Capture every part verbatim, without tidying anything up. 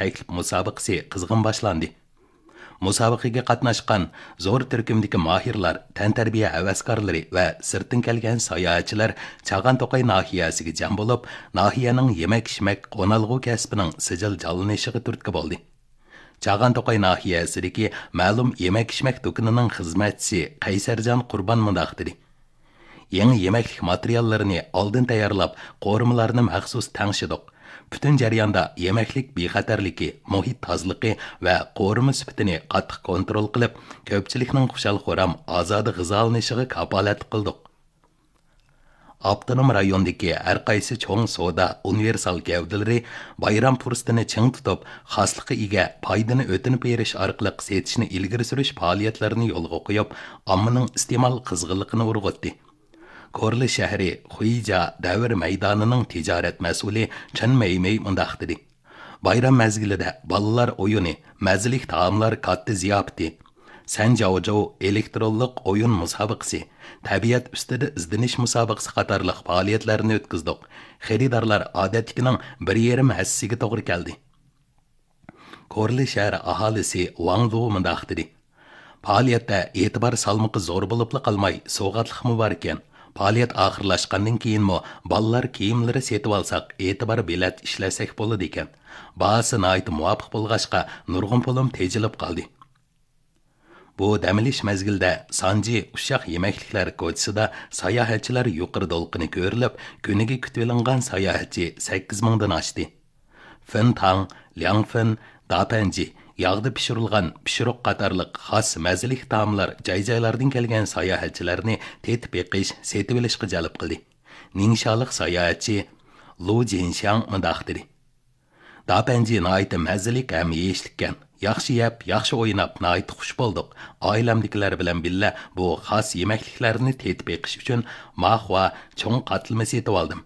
تەكلىپ مۇسابىقىسى قىزغىن باشلاندى. مۇسابىقىگە قاتناشقان زور تۈركۈمدىكى ماھىرلار، تەنتەربىيە ھەۋەسكارلىرى ۋە سىرتتىن كەلگەن ساياھەتچىلەر چاغان توقاي ناھىيەسىگە جەم بولۇپ، ناھىيەنىڭ يېمەك-ئىچمەك، قونالغۇ كەسپىنىڭ سىجىل جانلىنىشىغا تۈرتكە بولدى. چاغان توقاي ناھىيەسىدىكى مەلۇم يېمەك-ئىچمەك دۇكىنىنىڭ خىزمەتچىسى قەيسەرجان قۇربان مۇنداق دېدى: يېڭى يېمەكلىك ماتېرىياللىرىنى ئالدىن تەييارلاپ، قورۇمىلارنى مەخسۇس تەڭشىدۇق. پۈتۈن جەرياندا يېمەكلىك بىخەتەرلىكى، مۇھىت تازىلىقى ۋە قورۇما سۈپىتىنى قاتتىق كونترول قىلىپ، كۆپچىلىكنىڭ خۇشال-خۇرام، ئازادە غىزالىنىشىغا كاپالەتلىك قىلدۇق. ئاپتونوم رايوندىكى ھەر قايسى چوڭ سودا ئۇنىۋېرسال گەۋدىلىرى بايرام پۇرسىتىنى چىڭ تۇتۇپ، خاسلىققا ئىگە پايدىنى ئۆتۈنۈپ بېرىش ئارقىلىق سېتىشنى ئىلگىرى سۈرۈش پائالىيەتلىرىنى يولغا قويۇپ، ئاممىنىڭ ئىستېمال قىزغىنلىقىنى ئۇرغۇتتى. كورلا شەھىرى خۇيجا دەۋر مەيدانىنىڭ تىجارەت مەسئۇلى چېن مەيمەي مۇنداق دېدى: بايرام مەزگىلىدە بالىلار ئويۇنى، مەززىلىك تائاملار كاتتا زىياپىتى، سەنجاۋجوۋ ئېلېكترونلۇق ئويۇن مۇسابىقىسى، تەبىئەت ئۈستىدە ئىزدىنىش مۇسابىقىسى قاتارلىق پائالىيەتلەرنى ئۆتكۈزدۇق. خېرىدارلار ئادەتتىكىنىڭ بىر يېرىم ھەسسىسىگە توغرا كەلدى. كورلى شەھەر ئاھالىسى ۋاڭ لۇ مۇنداق دېدى: پائالىيەتتە ئېتىبار سالمىقى زور بولۇپلا قالماي، سوۋغاتلىقمۇ باركەن. پائالىيەت ئاخىرلاشقاندىن كېيىنمۇ بالىلار كىيىملىرى سېتىۋالساق، ئېتىبار بېلەت ئىشلەتسەك بولىدىكەن. باھاسى ناھايىتى مۇۋاپىق بولغاچقا، نۇرغۇن پۇلۇم تېجىلىپ قالدى. بۇ دەم ئېلىش مەزگىلىدە سانجى ئۇششاق يېمەكلىكلەر كوچىسىدا ساياھەتچىلەر يۇقىرى دولقۇنى كۆرۈلۈپ، كۈنىگە كۈتۈۋېلىنغان ساياھەتچى سەككىز مىڭدىن ئاشتى. فېنتاڭ، لياڭفېن، داپەنجى، ياغدا پىشۇرۇلغان پىشۇرۇق قاتارلىق خاس مەززىلىك تائاملار جاي-جايلاردىن كەلگەن ساياھەتچىلەرنى تېتىپ بېقىش، سېتىۋېلىشقا جەلپ قىلدى. نىڭشالىق ساياھەتچى لۇ جىنشياڭ مۇنداق دېدى: داپەنجى ناھايىتى مەززىلىك ھەم يېيىشلىككەن. ياخشى يەپ، ياخشى ئويناپ، ناھايىتى خۇش بولدۇق. ئائىلەمدىكىلەر بىلەن بىللە بۇ خاس يېمەكلىكلەرنى تېتىپ بېقىش ئۈچۈن ماخۇا چوڭ قاتلىما سېتىۋالدىم.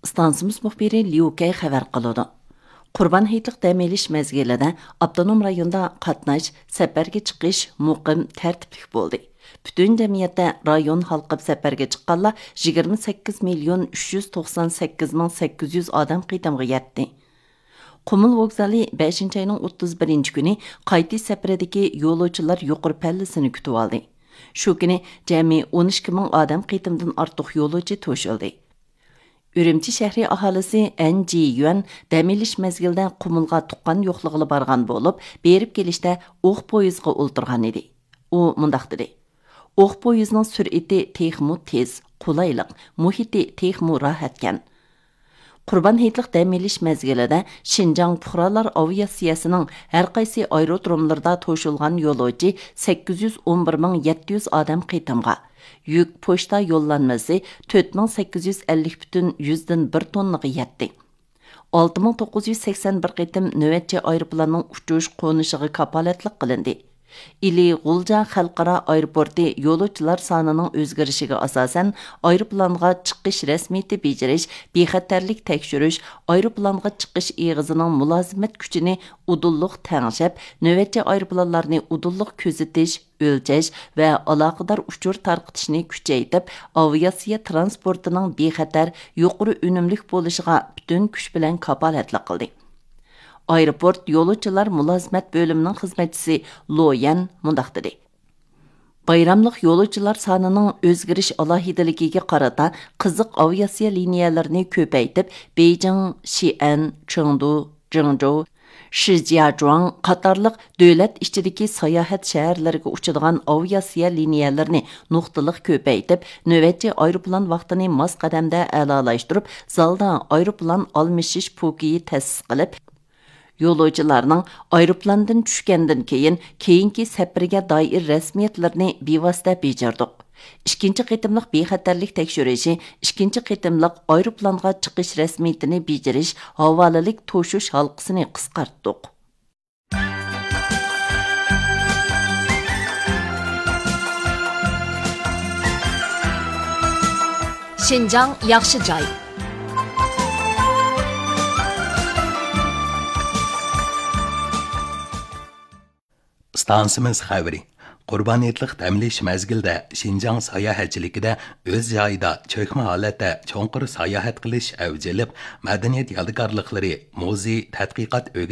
ئىستانسىمىز مۇخبىرى ليۇ كەي خەۋەر قىلىدۇ. قۇربان ھېيتلىق دەم ئېلىش مەزگىلىدە ئاپتونوم رايوندا قاتناش، سەپەرگە چىقىش مۇقىم، تەرتىپلىك بولدى. پۈتۈن جەمئىيەتتە رايون ھالقىپ سەپەرگە چىققانلار يىگىرمە سەككىز مىليون ئۈچ يۈز توقسان سەككىز مىڭ سەككىز يۈز ئادەم قېتىمغا يەتتى. قۇمۇل ۋوگزالى بەشىنچى ئاينىڭ ئوتتۇز بىرىنچى كۈنى قايتىش سەپىرىدىكى يولۇچىلار يۇقىرى پەللىسىنى كۈتۈۋالدى. شۇ كۈنى جەمئىي ئون ئىككى مىڭ ئادەم قېتىمدىن ئارتۇق يولۇچى توشۇلدى. ئۈرۈمچى شەھىرى ئاھالىسى ئەن جى يۈەن دەم ئېلىش مەزگىلىدە قۇمۇلغا تۇغقان يوقلىغىلى بارغان بولۇپ، بېرىپ كېلىشتە ئوق پويىزغا ئولتۇرغان ئىدى. ئۇ مۇنداق دېدى: ئوق پويىزنىڭ سۈرئىتى تېخىمۇ تېز، قولايلىق، مۇھىتى تېخىمۇ راھەتكەن. قۇربان ھېيتلىق دەم ئېلىش مەزگىلىدە شىنجاڭ پۇقرالار ئاۋىئاتسىيەسىنىڭ ھەر قايسى ئايرودروملىرىدا توشۇلغان يولۇچى سەككىز يۈز ئون بىر مىڭ يەتتە يۈز ئادەم قېتىمغا، يۈك پوچتا يوللانمىسى تۆت مىڭ سەككىز يۈز ئەللىك پۈتۈن يۈزدىن بىر توننىغا يەتتى. ئالتە مىڭ توققۇز يۈز سەكسەن بىر قېتىم نۆۋەتچى ئايروپىلاننىڭ ئۇچۇش قونۇشىغا كاپالەتلىك قىلىندى. ئىلى غۇلجا خەلقئارا ئايروپورتى يولۇچىلار سانىنىڭ ئۆزگىرىشىگە ئاساسەن، ئايروپىلانغا چىقىش رەسمىيىتى بېجىرىش، بىخەتەرلىك تەكشۈرۈش، ئايروپىلانغا چىقىش ئېغىزىنىڭ مۇلازىمەت كۈچىنى ئۇدۇللۇق تەڭشەپ، نۆۋەتچى ئايروپىلانلارنى ئۇدۇللۇق كۆزىتىش، ئۆلچەش ۋە ئالاقىدار ئۇچۇر تارقىتىشنى كۈچەيتىپ، ئاۋىئاتسىيە ترانسپورتىنىڭ بىخەتەر، يۇقىرى ئۈنۈملۈك بولۇشىغا پۈتۈن كۈچ بىلەن كاپالەتلىك قىلدى. ئايروپورت يولۇچىلار مۇلازىمەت بۆلۈمىنىڭ خىزمەتچىسى لو يەن مۇنداق دېدى: بايراملىق يولۇچىلار سانىنىڭ ئۆزگىرىش ئالاھىدىلىكىگە قارىتا، قىزىق ئاۋىئاتسىيە لىنىيەلىرىنى كۆپەيتىپ، بېيجىڭ، شىئەن، چېڭدۇ، جېڭجۇ، شىجياجۇاڭ قاتارلىق دۆلەت ئىچىدىكى ساياھەت شەھەرلىرىگە ئۇچىدىغان ئاۋىئاتسىيە لىنىيەلىرىنى نۇقتىلىق كۆپەيتىپ، نۆۋەتچى ئايروپىلان ۋاقتىنى ماس قەدەمدە ئەلالاشتۇرۇپ، زالدا ئايروپىلان ئالمىشىش پوكىيى تەسىس قىلىپ، يولۇچىلارنىڭ ئايروپىلاندىن چۈشكەندىن كېيىن، كېيىنكى سەپىرىگە دائىر رەسمىيەتلىرىنى بىۋاسىتە بېجىردۇق. ئىككىنچى قېتىملىق بىخەتەرلىك تەكشۈرۈشى، ئىككىنچى قېتىملىق ئايروپىلانغا چىقىش رەسمىيىتىنى بېجىرىش ھاۋالىلىك توشۇش ھالقىسىنى قىسقارتتۇق. شىنجاڭ ياخشى جاي. ئىستانسىمىز خەۋىرى. قۇربان ھېيتلىق دەم ئېلىش مەزگىلىدە شىنجاڭ ساياھەتچىلىكىدە ئۆز جايىدا چۆكمە ھالەتتە چوڭقۇر ساياھەت قىلىش ئەۋج ئېلىپ، مەدەنىيەت يادىكارلىقلىرى، مۇزېي، تەتقىقات ئۆگىنىش